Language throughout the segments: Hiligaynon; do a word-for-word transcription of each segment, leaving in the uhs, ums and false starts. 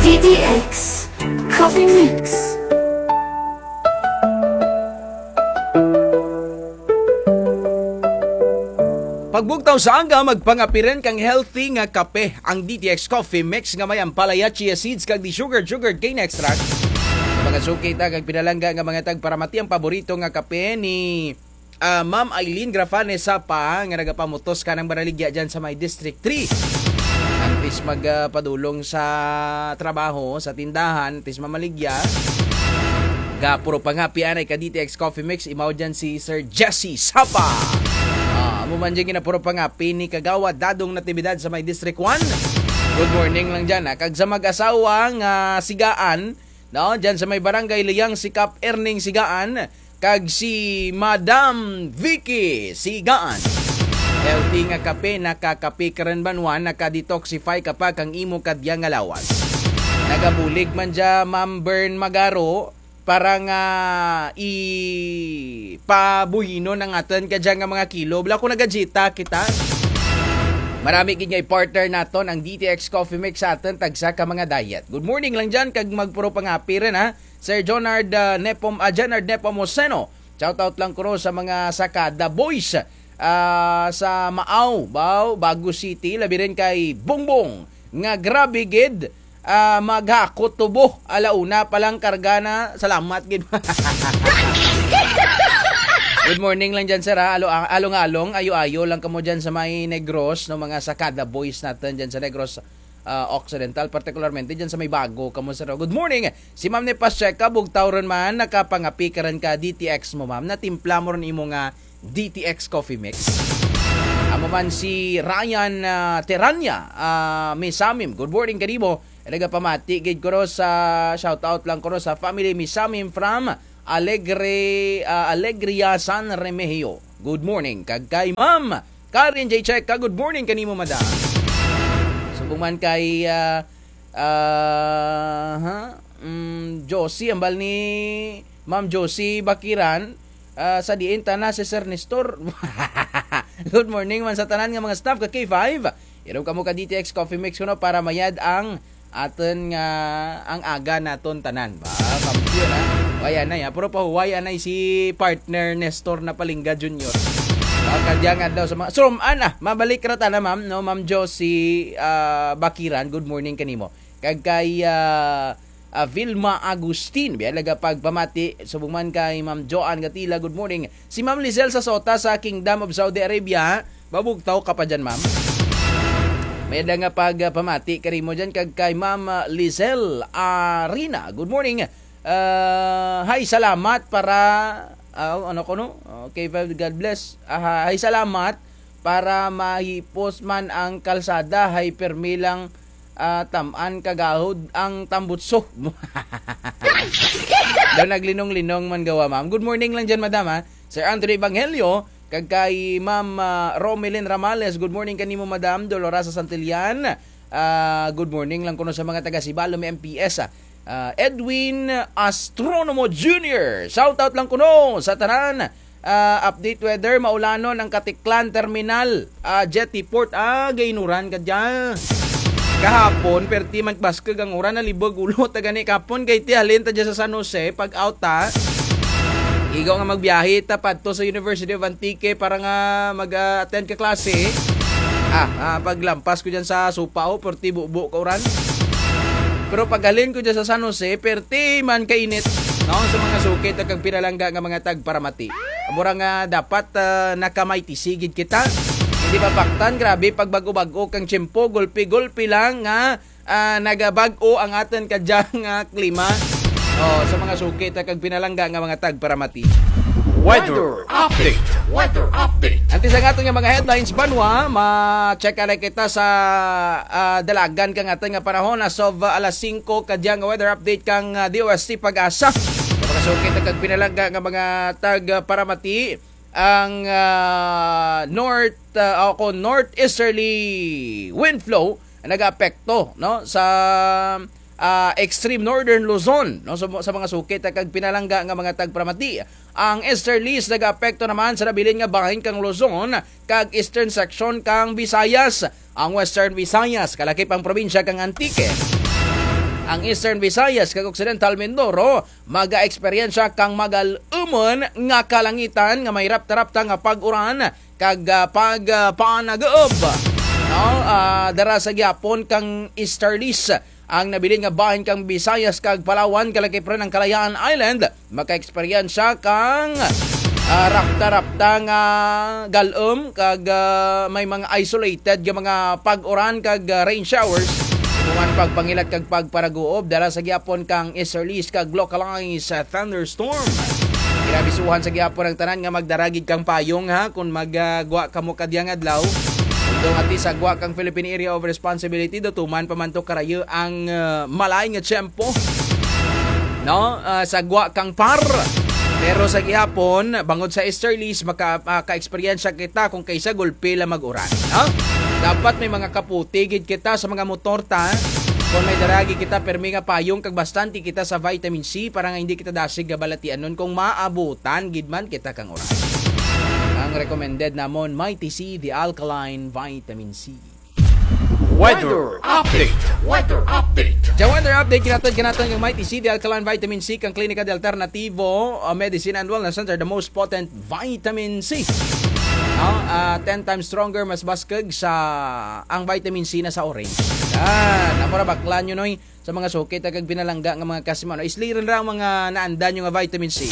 D T X Coffee Mix. Pagbugtaw sa aga, magpangapiran kang healthy nga kape, ang D T X Coffee Mix nga may ampalaya, chia seeds, kag di sugar, sugar cane extract. Sa mga suki ta kag pinalangga nga mga tagparamati, ang paborito nga kape ni ah, Ma'am Eileen Grafane Sapa, nga nagapamutos ka ng Baraligya dyan sa may District three. Antes magpadulong sa trabaho, sa tindahan, antes mamaligya, gapuro pangapi anay ka D T X Coffee Mix, imaw dyan si Sir Jesse Sapa. Ah, amo man dyan ginapuro pangapi ni Kagawa Dadong Natividad sa may District one. Good morning lang dyan, ha. Kag sa mag-asawa nga sigaan, no, dyan sa may barangay Liyang Sikap, Erning Sigaan, kag si Madam Vicky Sigaan. Healthy nga kape, nakakape ka rin banwa, naka-detoxify ka pa kang imo kadya nga lawas. Nagabulig man dya, Ma'am Bern Magaro, para nga ipabuhinon ang aton kadya nga mga kilo. Wala ko nagajita kita. Marami gid nga i-partner naton ang D T X Coffee Mix sa aton tagsa ka mga diet. Good morning lang dyan, kag magpuro pangapi rin, ha. Sir Jonard, ah, Nepom-, ah, Jonard Nepomuceno. Shout out lang kuno sa mga Sakada Boys, ah, sa Maaw, Bao, Bago City, labi rin kay Bongbong, nga grabe gid, ah, maghakot tubo. Ala una pa lang karga na. Salamat gid. Good morning lang dyan, sir, ha. Alo-, along-along, ayo-ayo lang kamo dyan sa may Negros, no, mga Sakada Boys natin dyan sa Negros, ah, Occidental, particularmente dyan sa may Bago, kamo, sir. Good morning. Si Ma'am ni Pacheca, bugtaw ron man, nakapangapi ka rin ka D T X mo, ma'am. Natimpla mo ron imo nga D T X Coffee Mix. Amo man si Ryan, ah, Terania, ah, Misamim. Good morning, kanimo. Nagapamati gid ko ro sa, shout out lang ko ro sa family Misamim from Alegre, ah, Alegria, San Remigio. Good morning. Kag kay Ma'am Karen J Checa, good morning kanimo, madam. Subong man kay, ah, ah, ha? Mm, Josie, ambal ni Ma'am Josie Bakiran, ah, sa diin ta na si Sir Nestor. Good morning man sa tanan nga mga staff ka K five. Inom kamo ka D T X Coffee Mix kuno para mayad ang aton nga, ang aga naton tanan. Ba, kampiyon, ha? Huway anay, ha? Pero pahuway anay si partner Nestor na Palingga Junior. Ah, kadyang adlaw sa mga, so, ana, mabalik ra ta na, ma'am, no? Ma'am Josie, ah, Bakiran, good morning kanimo. Kag kay, ah, ah, Vilma Agustin, biya laga pagpamati, subong man kay Ma'am Joan Gatila, good morning. Si Ma'am Lizelle sa Sota sa Kingdom of Saudi Arabia, babugtaw ka pa dyan, ma'am. May da nga pagpamati karimo dyan kag kay Ma'am, ah, Lizelle Arina. Good morning. Ah, hi, salamat para, ah, ano ko, no? Okay, God bless. Ah, hi, salamat para mahipos man ang kalsada, hay permi lang, ah, tam-an kagahod ang tambutso. Daw naglinong-linong man gawa, ma'am. Good morning lang dyan, madam, ha. Sir Andre Evangelio, kag kay Ma'am, ah, Romelyn Ramales. Good morning kanimo, Madam Dolorosa Santillan. Ah, good morning lang kuno sa mga taga Sibalom M P S, ah. Ah, Edwin Astronomo Junior. Shout out lang kuno sa tanan. Ah, update weather, maulanon ang Katiklan Terminal, ah, Jetty Port. Ah, gainuran ka dyan. Kahapon, perti man baskag ang uran, nalibog ulo ta gani kahapon kay ti halin ta dyan sa San Jose, pag out ta. Igo nga magbiyahe ta padto sa University of Antique para nga mag-attend ka klase. Ah, ah, paglampas ko dyan sa supa, oh, perti bubo ka uran. Pero paghalin ko dyan sa San Jose, perti man kainit. No, sa mga suki ta kag pinalangga nga mga tagparamati. Mura nga dapat, ah, nakamayti sigid kita. Hindi mapaktan, grabe, pag bago-bago kang tiyempo, gulpi-gulpi lang nga, ah, nagabag-o ang aton kadyang, ah, klima. Oh, sa mga suki ta kag pinalangga nga mga tagparamati. Weather update. Weather update. Antes ang aton nga mga headlines, banwa, ma-check na kita sa, ah, dalagan kang aton nga panahon as of, ah, alas singko kadyang nga weather update kang, ah, D O S T Pag-asa. Sa mga suki ta kag pinalangga nga mga tagparamati, ang, ah, north, ah, o kung northeasterly wind flow ang nag-aapekto, no, sa, ah, extreme northern Luzon, no, sa, sa mga suki ta kag pinalangga nga mga tagparamati. Ang easterlies nag-aapekto naman sa nabilin nga bahin kang Luzon kag eastern section kang Visayas, ang Western Visayas, kalakip ang probinsya kang Antique. Ang Eastern Visayas kag Occidental Mindoro maga-eksperyensya kang magal-umon nga kalangitan nga may rapta-rapta nga pag-uran kag, ah, pagpanaguob. No? Ah, dara sa gihapon kang easterlies ang nabilin nga bahin kang Visayas kag Palawan, kalakip rin ang Kalayaan Island, maka-eksperyensya kang, ah, rapta-rapta nga galom kag, ah, may mga isolated nga mga pag-uran kag, ah, rain showers. Kuman pagpangilat kag pagparaguob dara sa gihapon kang easterlies kag localized, ah, thunderstorm. Ginabisuhan sa gihapon ang tanan nga magdaragig kang payong, ha, kung magagwa kamo kadyang adlaw. Kung ati sa gwa kang Philippine Area of Responsibility, do tuman pa man to karayo ang, ah, malay nga tiyempo, no? Ah, sa gwa kang par. Pero sa gihapon, bangod sa easterlies, maka, ah, ka-eksperyensya kita kung kaysa gulpi lang mag-uran, no? Dapat may mga kaputi gid kita sa mga motor ta. Kung may daragi kita, permi nga payong kag bastante kita sa vitamin C para nga hindi kita dasig nga balatianon kung maabutan gid man kita kang uran. Ang recommended namon, Mighty C, the alkaline vitamin C. Weather update. Weather update. Sa weather update, kinatod kanaton ng Mighty C, the alkaline vitamin C, kang Klinika de Alternativo, uh, Medicine and Wellness Center, the most potent vitamin C. No? Ah, ten times stronger, mas baskag sa ang vitamin C na sa orange. Ah, namura bakla nyo, noy, sa mga suki, ta kag pinalangga nga mga kasmano. Islirin ra ang mga naanda nyo nga vitamin C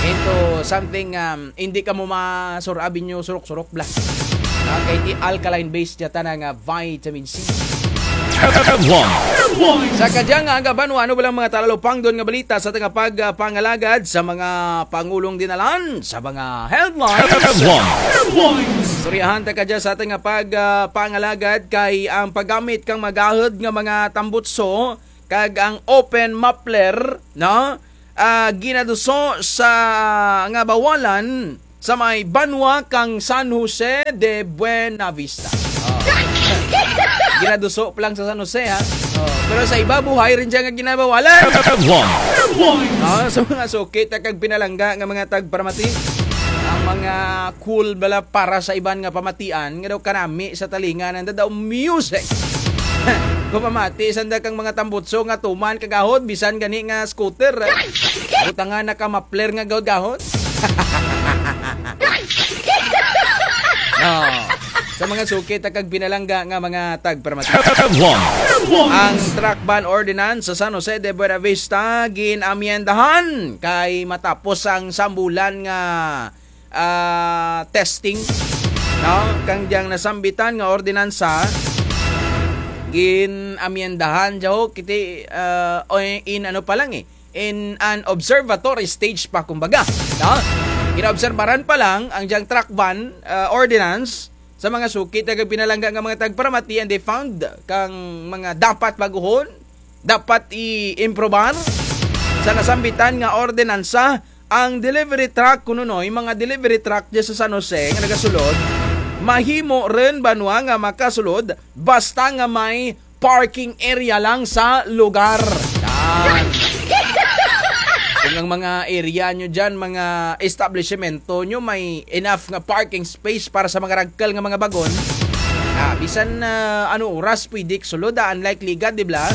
into something, um, hindi ka mo masurab inyo surok-surok bla. Okay, di alkaline base dya tana nga vitamin C. Headlines. Sa kadyang nga banwa, ano ba lang mga talalupangdon nga balita sa tanga pag, ah, pangalagad sa mga pangulong dinalan sa mga headlines? Headlines. Istoryahan ta kadya sa tanga pag, ah, pangalagad kay ang paggamit kang magahod nga mga tambutso kag ang open muffler, no? Ah, ginaduso sa nga bawalan sa may banwa kang San Jose de Buenavista. Oh. Ginaduso pa lang sa San Jose, ha? Oh, pero sa iba, buhay rin siya nga ginabawalan. Headlines. Ah, sa mga suki, ta kag pinalangga nga mga tagparamati, ang mga cool bala para sa iban nga pamatian, nga daw kanami sa talinga, nanda daw music. Kung pamati, sanda kang mga tambutso nga tuman kagahod, bisan gani nga scooter. Butangan na ka mapler nga gahod-gahod. No. Sa mga suki, ta kag pinalangga nga mga tagparamati. Headlines. Ang truck ban ordinance sa San Jose de Buenavista ginamyendahan kay matapos ang sambulan nga, ah, testing, no? Kang diyang nasambitan nga ordinansa, ginamyendahan, jo, kiti, ah, o in ano pa lang, eh, in an observatory stage pa, kumbaga, no? Ginaobserbaran pa lang ang diyang truck ban, ah, ordinance sa mga suki, ta kag pinalangga nga mga tagparamati, and they found kang mga dapat baguhon, dapat i-improbar sa nasambitan nga ordinansa. Ang delivery truck, kuno, noy, mga delivery truck dyan sa San Jose nga nagasulod, mahimo rin banwa nga makasulod basta nga may parking area lang sa lugar. Yan. Kung ang mga area nyo dyan, mga establishmento nyo, may enough nga parking space para sa mga ragkal nga mga bagon, ah, bisan, ah, ano oras pwede sulod, ah, unlike Ligad, di ba?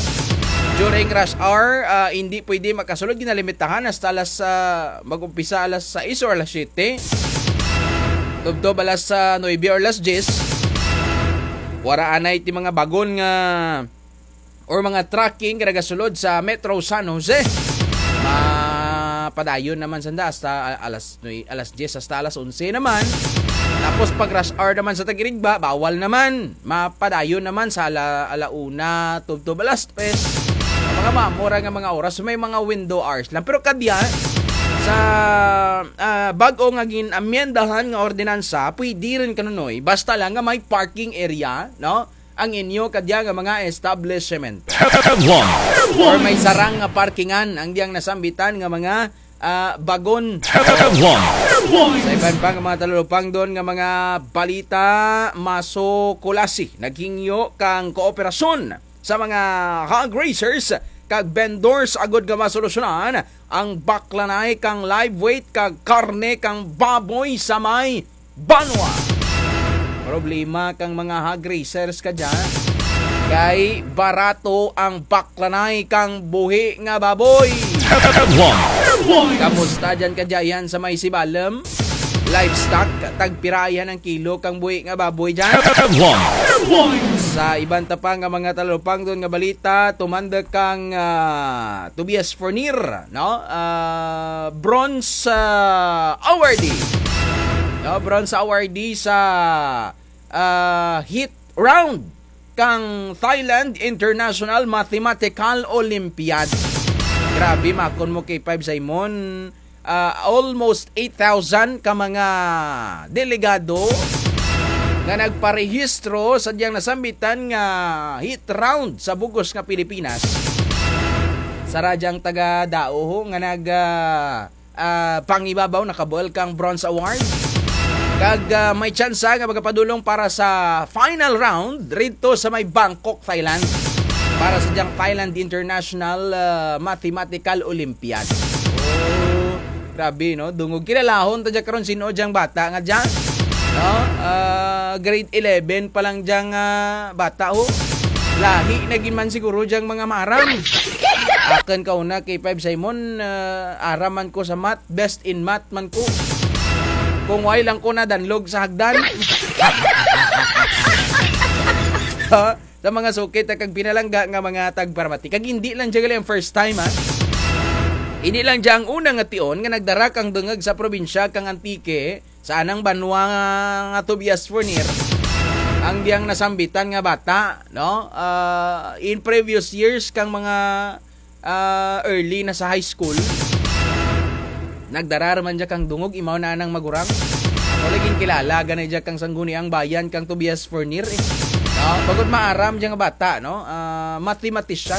During rush hour, ah, hindi pwede makasulod, ginalimitahan hasta alas, ah, mag-umpisa alas sais or alas siyete. Tubtob alas, ah, nuebe or alas diyes. Wara anay ti mga bagon nga or mga trucking nga nagasulod sa Metro San Jose. Mapadayon naman sanda hasta a-, alas nue-, alas diyes hasta alas onse naman. Tapos pag rush hour naman sa tagirigba, bawal naman. Mapadayon naman sa ala, ala una, tubtob alas tres. Mga mamura nga mga oras, may mga window hours lang. Pero kadya, sa, ah, bag-o nga gin-amyendahan nga ordinansa, pwede rin kanunoy, basta lang nga may parking area, no? Ang inyo kadya nga mga establishment. Headlines. Or may sarang nga parkingan ang diyang nasambitan nga mga, ah, bagon. Headlines. Sa iban pa nga mga talulupang doon nga mga balita, Maso Kulasi naghingyo kang kooperasyon sa mga hog raisers kag vendors agud nga masolusyonan ang baklanay kang live weight kag karne kang baboy sa may banwa. Problema kang mga hog raisers ka dyan. Kay barato ang baklanay kang buhi nga baboy. Headlines. Kamusta dyan ka dyan sa may Sibalom? Livestock, tagpirayan ang kilo kang buhi nga baboy dyan. Headlines. Sa iban ta pa nga mga talupangdon nga balita, tumanda kang ah, Tobias Fornir, no? Ah, bronze ah, awardee. No, bronze awardee sa ah, heat round kang Thailand International Mathematical Olympiad. Grabe, makon mo kay Five Simon, ah, almost eight thousand ka mga delegado nga nagparehistro sa diyang nasambitan nga heat round sa bugos nga Pilipinas. Sa radyang taga Dao ho nga nag ah, ah, pangibabaw nakabuel kang bronze award. Kag ah, may tsansa nga magapadulong para sa final round rito sa may Bangkok, Thailand, para sa diyang Thailand International ah, Mathematical Olympiad. Oh, grabe, no? Dungog, kilalahon ta dyan karon, sino diyang bata nga dyan, no? Ah, grade eleven pa lang diyang ah, bata, oh. Lahi na gid man siguro diyang mga maaram. Akin ka una kay Five Simon, ah, aram man ko sa math, best in math man ko. Kung why lang ko nadanlog sa hagdan. Ha? Sa mga sukit kag pinalangga nga mga tagparamati. Kag hindi lang dyan gali ang first time, ha? Hindi lang dyan ang una nga tion nga nagdara kang dungag sa probinsya kang Antique, sa anang banwa nga Tobias Fornir, ang diyang nasambitan nga bata, no? Ah, in previous years, kang mga ah, early na sa high school, nagdarar man dya kang dungog, imaw na nang magurang. Ako laging kilala, ganay dya kang sangguniang bayan, kang Tobias Fornir, eh. No? Bagod maaram dya nga bata, no? Ah, mathematician.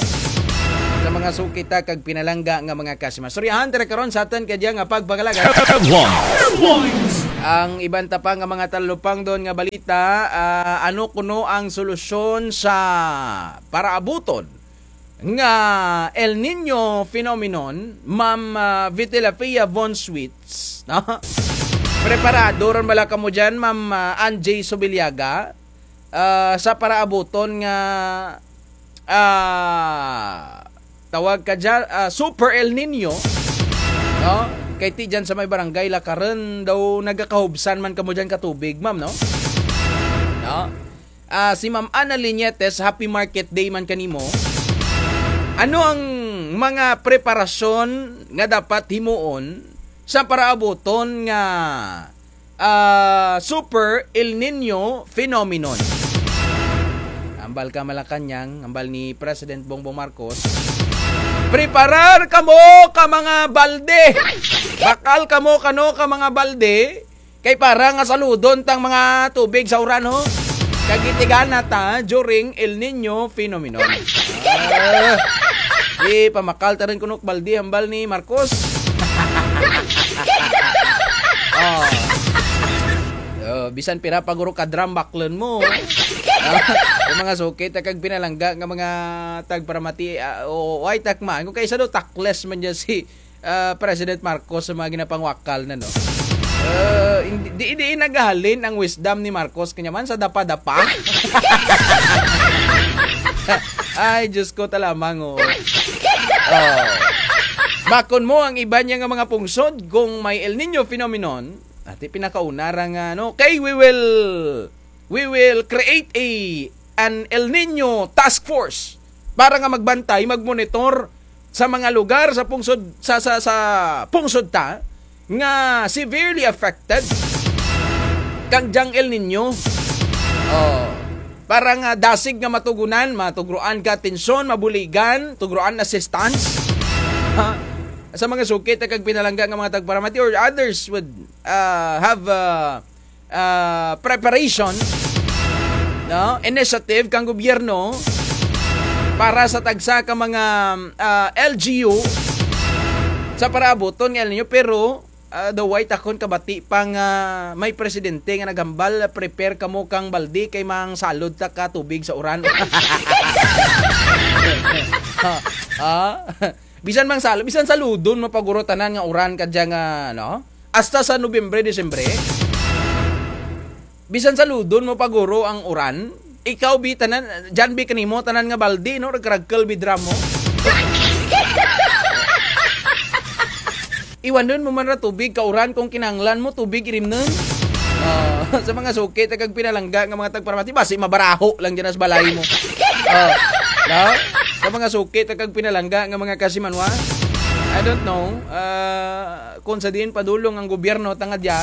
Sa mga sukita kag pinalangga nga mga kasima. Storyahan tira karon sa aton kadya nga pagpangalaga. Headlines. Ang iban ta pa nga mga talupangdon nga balita, ah, ano kuno ang solusyon sa paraabuton nga El Niño phenomenon, Ma'am, ah, Vitelafia Von Sweets, no? Preparado ron bala kamo dyan, Ma'am, ah, Anjay Subiliaga, ah, sa paraabuton nga, ah, tawag ka dyan, ah, Super El Niño, no? Kay ti dyan sa may barangay Lakaran daw nagakahubsan man kamo dyan ka tubig, ma'am, no? No? Ah, si Ma'am Ana Liñetes, happy market day man kanimo. Ano ang mga preparasyon nga dapat himuon sa paraabuton nga, ah, Super El Niño phenomenon? Ambal ka, Malacañang, ambal ni President Bongbong Marcos, preparar kamo ka mga balde. Bakal kamo kano ka mga balde. Kay para nga saludon tang mga tubig sa uran, ho. Kag itigana ta during El Niño phenomenon. Ah, di pamakal ta rin kunok baldi hambal ni Marcos. Oh. Oh, bisan pira pa guro ka drum baklon mo. Ah, yung mga sukit kag pinalangga nga mga tagparamati, ah, o, o ay takma. Kung kaysa do takles man dyan si ah, President Marcos sa mga ginapangwakal na, no? Ah, hindi, di, di nagahalin ang wisdom ni Marcos kanya man sa dapa-dapa. Ay, Diyos ko, talamang, oh. Oh. Makon mo ang iba niya nga mga pungsod kung may El Niño phenomenon, ati pinakauna ra nga, no? Kay we will, we will create a, an El Niño task force para nga magbantay, magmonitor sa mga lugar sa pungsod, sa, sa, sa pungsod ta nga severely affected kang dyang El Niño. Oh, para nga dasig nga matugunan, matugroan ka atensyon, mabuligan, tugroan assistance. Ha? Sa mga sukit kag pinalangga nga mga tagparamati or others would uh, have uh, ah, preparation, no, initiative kang gobyerno para sa tagsa ka mga ah, L G U sa paraabuton nga El Niño, pero ah, daw way takon kabati pa nga may presidente nga naghambal, "Prepare kamo kang balde kay mang salod ta ka tubig sa uran." Ah, ah. Bisan mang salod, bisan saludon mo paguro tanan nga uran kadya nga, no? Hasta sa Nobyembre, Disyembre, bisan saludon mo paguro ang uran, Ikaw, bi, tanan, dyan, bi, kanimo, tanan nga balde, no? Ragkaragkal, bi, drum mo. Iwanon mo man ra tubig, kauran kung kinahanglan mo, tubig, irimnon. Oh, sa mga suki, ta kag pinalangga nga mga tagparamati, basi mabaraho lang dyan sa balay mo. Oh, no? Sa mga suki, ta kag pinalangga nga mga kasimanwa, I don't know, ah, kung sa diin padulong ang gobyerno tangad ya.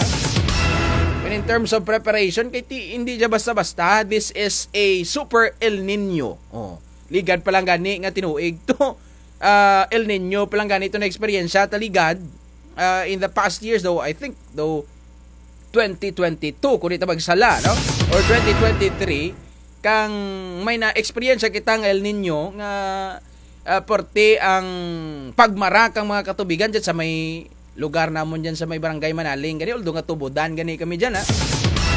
And in terms of preparation, kay ti, hindi siya basta-basta. This is a super El Nino. Oh, ligad pa lang gani nga tinuig to. Ah, El Nino pa lang gani to na eksperyensya ta ligad. Ah, in the past years, though, I think, though, twenty twenty-two, kung di ta magsala, no? Or twenty twenty-three, kang may na-eksperyensya kita nga El Nino nga, ah, porte ang pagmara kang mga katubigan dyan sa may lugar namon dyan sa may barangay Manaling. Gani, although nga tubudan gani kami dyan, ha?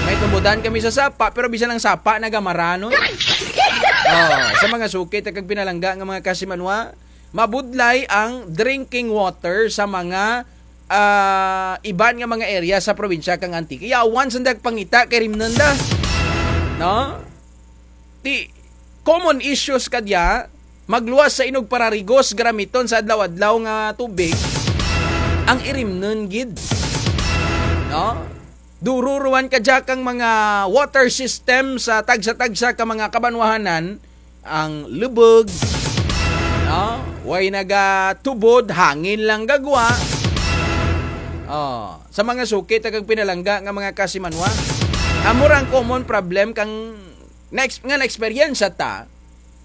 May tubudan kami sa sapa, pero bisan ang sapa, nagamara, no? Oh, sa mga suki, ta kag pinalangga nga mga kasimanwa, mabudlay ang drinking water sa mga, ah, iban nga mga area sa probinsya kang Antique. Yawan sa nagpangita kay rimnon da. No? Ti, common issues kadya, magluwas sa inog pararigos, garamiton sa adlaw-adlaw nga tubig, ang irimnon gid. No? Dururuan kadya kang mga water system sa tagsa-tagsa ka mga kabanwahanan, ang lubog, no? Way nagatubod, hangin lang gagwa. Oh, sa mga suki, ta kag pinalangga nga mga kasimanwa, amo ra ang common problem kang na-ex-, nga na-eksperyensya ta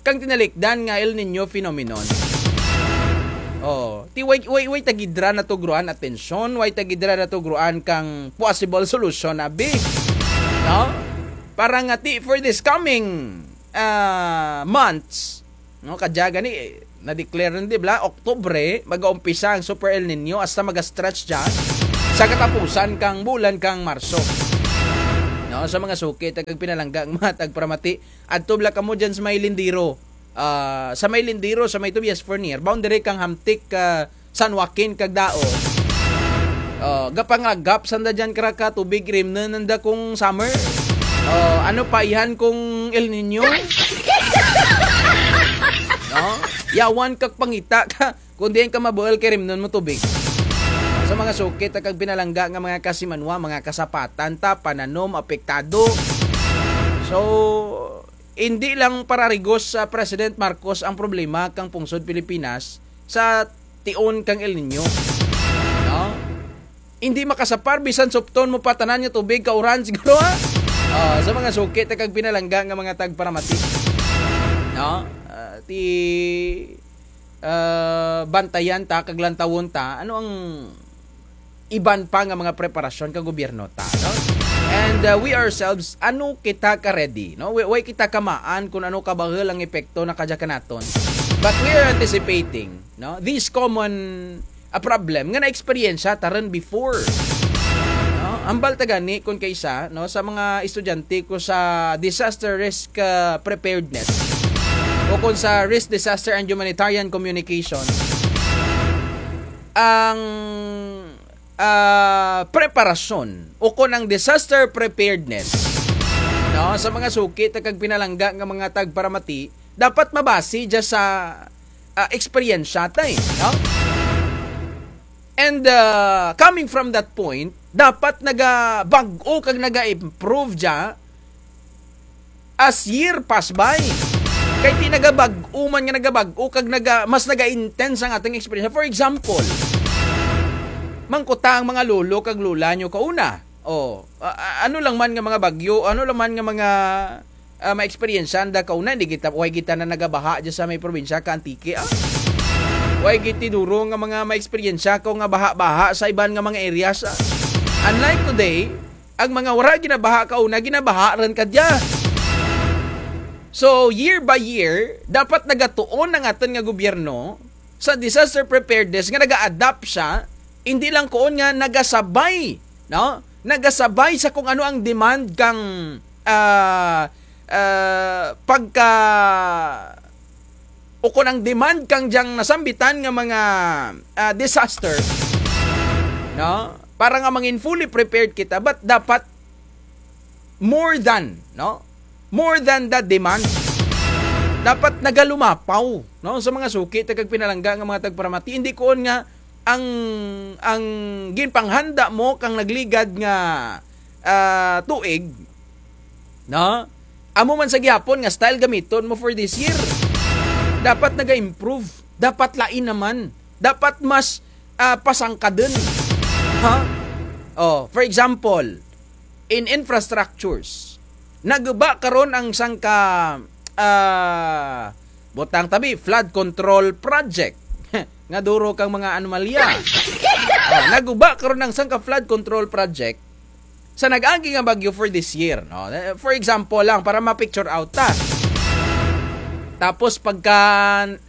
kang tinalikdan nga El Nino phenomenon. Oh, ti way, way, way tagidra na tugruan atensyon, way tagidra na tugruan kang possible solution, abi. No? Para nga ti for this coming, ah, months, no, kadya gani, eh, na-declare na, di ba, Oktubre, mag-uumpisa ang Super El Nino, hasta mag-stretch dyan sa katapusan kang bulan kang Marso. No, sa mga suki, ta kag pinalangga ang mga tagparamati, adto bala kamo dyan sa may Lindiro. Ah, sa may Lindiro, sa may Tobias Fornier, boundary kang Hamtic, ah, San Joaquin kag Dao. Oh, gapangagap sanda dyan kara ka tubig rimnon nanda kung summer. Oh, ano pa ihan kung El Nino? No? Yawan kag pangita ka kung diin ka mabuhal kay rimnon mo tubig. Sa mga suki, ta kag pinalangga nga mga kasimanwa, mga kasapatan ta, pananom, apektado. So, hindi lang pararigos sa President Marcos ang problema kang pungsod Pilipinas sa tion kang El Nino. No? Hindi makasapar, bisan supton mo pa tanan nga tubig, kauran siguro, ha? Ah, sa mga suki, ta kag pinalangga nga mga tagparamati. No? Ah, ti, ah, bantayan ta, kag lantawon ta, ano ang iban pa nga mga preparasyon ka gobyerno ta, no? And, uh, we ourselves, ano kita ka ready, no? Way, way kita kamaan kung ano kabahal ang epekto na kadya kanaton. But we are anticipating, no? This common, a problem nga na-eksperyensya ta ron before. No? Ambal ta gani kung kaisa, no, sa mga estudyante ko sa disaster risk, uh, preparedness o kung sa risk disaster and humanitarian communication, ang, ah, preparasyon o kon ang disaster preparedness, no, sa mga suki ta kag pinalangga nga mga tagparamati, dapat mabase dya sa, ah, eksperyensya ta, eh, no? And, ah, coming from that point, dapat nagabag-o kag naga-improve dya as year pass by. Kay ti nagabag-o man nga nagabag-o kag naga-, mas naga-intense ang ating experience. For example, mangkuta ang mga lolo kag lola nyo kauna. Oh, a-, a-, ano lang man nga mga bagyo, ano lang man nga mga, ah, maeksperiensyahan da kauna, hindi kita, way kita na nagabaha dyan sa may probinsya ka Antique, ah. Way giti duro nga mga maeksperiensya ko nga baha-baha sa iban nga mga areas, ah. Unlike today, ang mga wara ginabaha kauna, ginabaha rin kadya. So, year by year, dapat nagatuon ang aton nga gobyerno sa disaster preparedness nga naga-adapt siya, hindi lang kuon nga nagasabay, no? Nagasabay sa kung ano ang demand kang, ah, ah, pagka, o kung ang demand kang diyang nasambitan nga mga, ah, disaster, no? Para nga mangin fully prepared kita, but dapat more than, no? more than the demand. Dapat nagalumapaw, no, sa mga suki, tag pinalangga nga mga tagparamati. Hindi kuon nga ang, ang ginpanghanda mo kang nagligad nga, ah, tuig, no? Amo man sa gihapon nga style gamiton mo for this year. Dapat naga-improve. Dapat lain naman. Dapat mas, ah, pasangkadon. Ha? Oh, for example, in infrastructures, naguba karon ang sangka, ah, butang tabi, flood control project. Nga duro kang mga anomalya. Oh, naguba karon ang sangka flood control project sa nag-agi nga bagyo for this year, no? Eh, for example lang, para ma-picture out ta. Tapos pagka,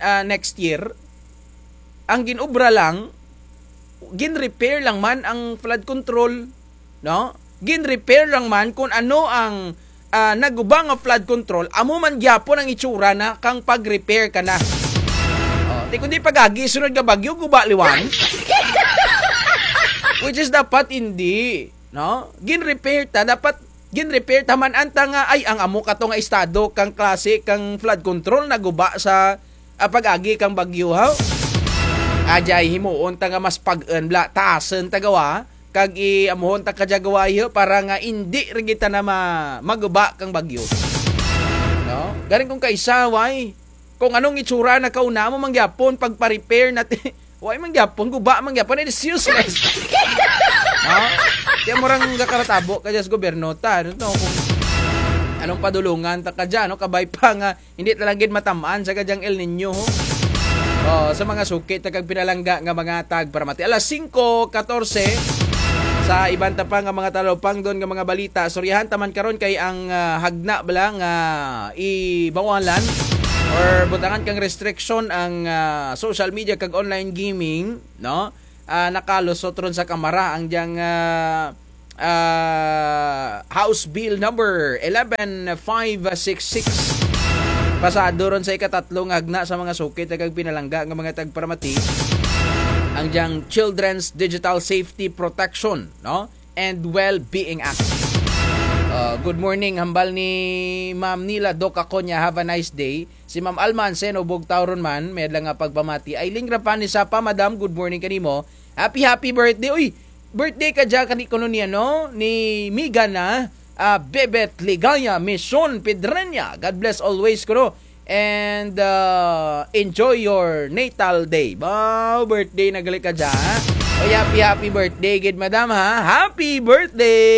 ah, next year, ang ginobra lang, gin-repair lang man ang flood control, no? Gin-repair lang man kung ano ang, ah, naguba nga flood control, amo man gyapon ang itsura na kang pag-repair ka na. Oh, di kundi pag-agi sunod nga bagyo, guba liwan. Which is dapat hindi, no? Gin-repair ta, dapat gin-repair ta man anta nga, ay, ang amo kato nga estado kang klase kang flood control naguba sa, ah, pag-agi kang bagyo, ha? Ajay, himuon ta nga mas pag-en bla, taasen ta gawa, kag i-, amuhon ta kadya gawa, yo, para nga indi ra kita na ma-, maguba kang bagyo. No? Galing kung kaisa, why? Kung anong itsura na kauna mo mangyapon pagpa-repair natin, why mangyapon, guba mangyapon, it is useless. No? Kaya mo rang gakaratabo ka dyan sa gobyerno ta, ano to, kung anong padulungan ta ka dyan, no? Kabay pa nga, hindi talaga gid matamaan sa kadyang El Niño, ho? Oh, sa mga suki, ta kag pinalangga nga mga tagparamati. Alas singko katorse, sa iban ta pa nga mga talupangdon nga mga balita, istoryahan ta man karon kay ang, ah, hagna bala nga ibawalan or butangan kang restriction ang, ah, social media kag online gaming, no? Ah, nakalusot ron sa Kamara ang diyang, ah, ah, House Bill number eleven five six six. Pasado ron sa ikatatlo nga hagna sa mga suki, ta kag pinalangga nga mga tagparamati, ang diyang Children's Digital Safety Protection, no? And Well-Being Act. Uh, good morning, hambal ni Ma'am Nila Doc Aconia. Have a nice day. Si Ma'am Alma Anseno, Bugtaw ron man, may adlaw nga pagpamati. Aileen Rafanes Sapa, Madam, good morning kanimo. Happy, happy birthday. Uy, birthday ka dyan, kani kuno niya, no? Ni Miga na, ah, Bebet Ligaya, Mission Pedreña. God bless always, kuno. And, ah, enjoy your natal day. Wow, birthday na gali ka dyan, ha? Uy, happy, happy birthday, gid, Madam, ha? Happy birthday!